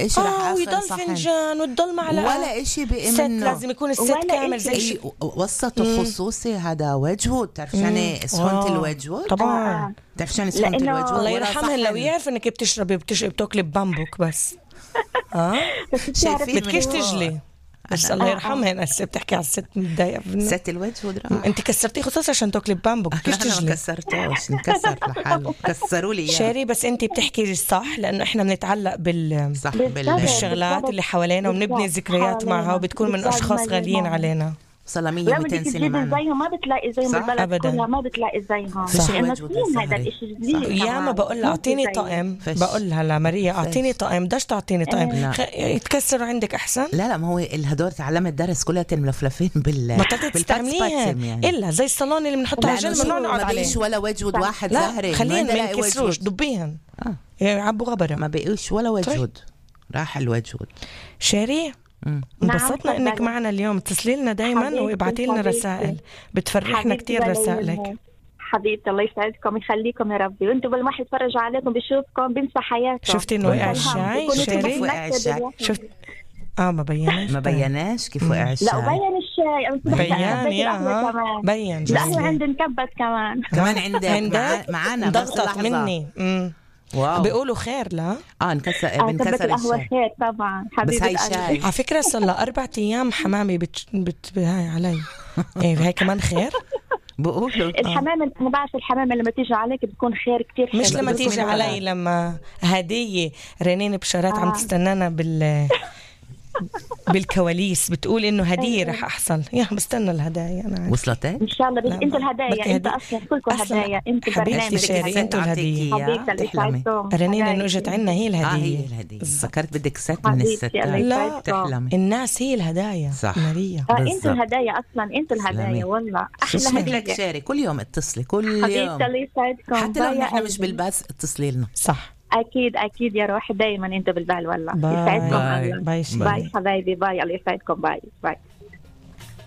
إيش رح ويضل آخر صحن فنجان وتضل معلقة ولا إشي بقي ست، منه. لازم يكون الست كامل زي إيه وسطه خصوصي هذا وجهود. تعرف شاني سخونة الوجهود؟ طبعا تعرف شاني سخونة الوجهود؟ الله يرحمهن لو يعرف انك بتشربي بتاكلي ببامبوك بس بدكيش تجلي بس الله يرحمهن. هسه بتحكي على الست متضايقة ست الوجهود انت كسرتيه خصوصا عشان تاكلي ببامبوك. بدكيش تجلي. انا ما كسرتوش، انكسر لحاله، كسروا لي اياه. شيري بس انت بتحكي صح، لانه احنا بنتعلق بالشغلات اللي حوالينا وبنبني ذكريات معها وبتكون من اشخاص غاليين علينا. صار 100-200 سنة معنا زيهم ما بتلاقي زيهم بالبلد أبداً. كلها ما بتلاقي زيهم. فيش لأنه الوجود سنين هذا الإشي جديد. يا ما بقول لها أعطيني طقم، بقول لها لماريا أعطيني طقم، داش تعطيني طقم يتكسروا عندك أحسن. لا ما هو الهدول تعلمت درس كلها ملفلفين بطلت تستعمليها يعني. إلا زي الصالون اللي بنحطها على جنب ممنوع نقعد عليه. ما بقيش ولا وجود واحد زهري. خليهم ما يكسروش دبيهن يعبوا غبرة. ما بقيش ولا وجود راح الوجود. شيري انبسطنا انك معنا اليوم. اتصلي لنا دايما وابعتي لنا رسائل، بتفرحنا كتير رسائلك حبيبتي. الله يسعدكم يخليكم يا ربي، وانتم بالواحد يتفرج عليكم بيشوفكم بينسى حياته. شفتي انه وقع الشاي شيري؟ وقع الشاي شفت ما بيناش كيف وقع الشاي. لا بين الشاي بيان يا بين. لا هو عندي نكبت كمان عندك معانا ضغطت مني. واو. بيقولوا خير لا بنكسر القهوة خير طبعا بس هاي شاي على فكرة صار لها 4 أيام حمامي هاي علي. هاي كمان خير بقولوا الحمامة. أنا بعرف الحمامة لما تيجي عليك بتكون خير كتير. مش لما تيجي علي، لما هدية رنين بشارات عم تستنانا بالكواليس بتقول إنه هدية رح أحصل. بستنى الهدايا أنا. وصلت إن شاء الله. أنت الهدايا، أنت أصلا كلكم هدايا. أنت حبيبتي شيري، أنتوا الهدية. رنين إنه إجت عنا هي الهدية. فكرت بدك ست من الستات. لا تحلمي. الناس هي الهدايا. صح ماريا أنتوا الهدايا أصلا. أنتوا الهدايا والله أحلى هدية. شيري كل يوم اتصلي كل يوم حبيبتي. الله يسعدكم. حتى لو نحن مش بالباس اتصلي لنا. صح أكيد يا روحي، دايما أنت بالبال والله. يسعدكم. باي حبايبي. باي. الله يسعدكم. باي.